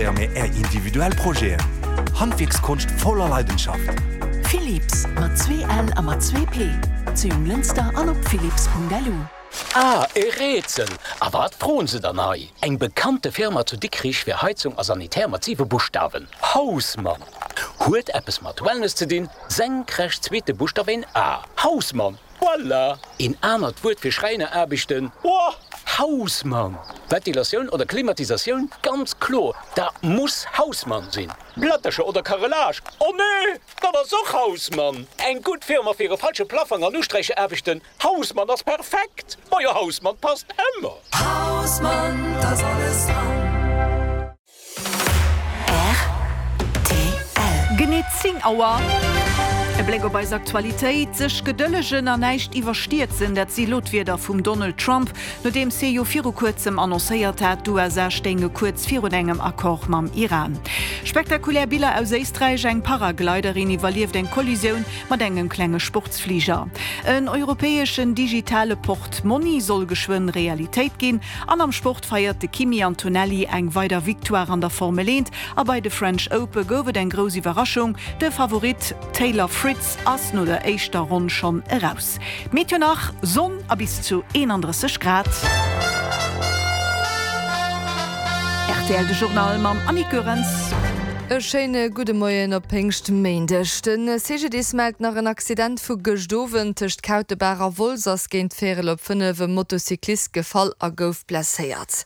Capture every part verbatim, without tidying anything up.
Mee Är individuell Projeten. Handwierkskonscht voller Leidenschaft. Philips, mat zwee L a mat zwee P, zu Jonglënster an op philips.lu. Ah, e Rätsel! A wat froen se dann hei? Eng bekannte Firma zu Dikrich fir Heizung a Sanitär mat siwe Buschtawen. Hausmann! Huet eppes mat Wellness ze dinn, senkrecht zweete Buschtaf een A. Hausmann! Voilà! Een anert Wuert fir Schräineraarbechten? Boah! Hausmann! Ventilatioun oder Klimatisatioun? Ganz kloer, dat muss Hausmann sinn! Plättercher oder Carrelage? Oh nee! Dat ass och Hausmann! Eng gutt Firma fir e falsche Plaffong an Usträichaarbechten? Hausmann ass perfekt! Majo Hausmann passt ëmmer! Hausmann, da ass alles dran! Rtl. Genee zéng Auer. E Bléck op eis Aktualitéit, Sech gedëllegen an näischt iwwerstierzen, dat si lo d'Wierder vum Donald Trump, nodeems hie jo viru kuerzem annoncéiert hat, d'USA stéinge kuerz virun engem Accord mam Iran. Spektakulär Biller aus Éisträich, Eng Paragliderin iwwerlieft eng Kollisioun mat engem klenge Sportsfliger. En europäeschen digitale Portmonni soll geschwënn Realitéit ginn. An am Sport feiert de Kimi Antonelli eng weider Victoire an der Formel eent a bei de French Ope gouf et eng grouss Iwwerraschung, De Favorit Taylor Fritz ass no der éischter Ronn schonn eraus. D'Meteo nach, Sonn a bis zu eenandrësseg Grad. Rtl De Journal mam Annick Goerens. E schéine gudde Moien op Péngschtméindeg. De C G D I S mellt nach en Accident vu gëscht Owend. Tëscht Kautebaach a Wolz ass géint véierel op fënnef e Motocyclist gefall a gouf blesséiert.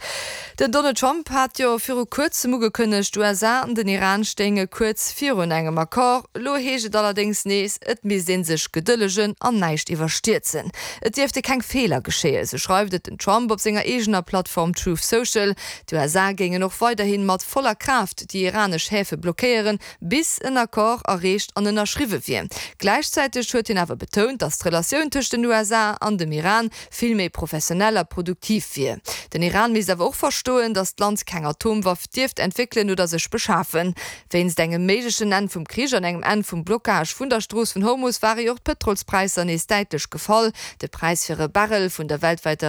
Den Donald Trump hat jo viru kuerzem ugekënnegt, d'U S A an den Iran stéinge kuerz virun engem Accord. Elo heescht et allerdéngs nees, et misst ee sech gedëllegen an näischt iwwerstierzen. Et dierfte keng Feeler geschéien, sou schreift et den Trump op senger eegener Plattform Truth Social. D'U S A géingen och weiderhi mat voller Kraaft déi iranesch Häfe blockéieren, bis en Accord erreecht an ënnerschriwwe wier. Gläichzäiteg huet hien awer betount, datt d'Relatioun tëscht den U S A an dem Iran vill méi professionell a produktiv wier. Den Iran misst awer och verstoen, datt d'Land keng Atomwaff dierft entwéckelen oder sech beschafen. Wéinst engem méiglechen Enn vum Krich an engem Enn vum Blockage vun der Strooss vun Hormus ware jo och d'Pëtrolspräisser nees däitlech gefall. De Präis fir e Barrel vun der weltwäiter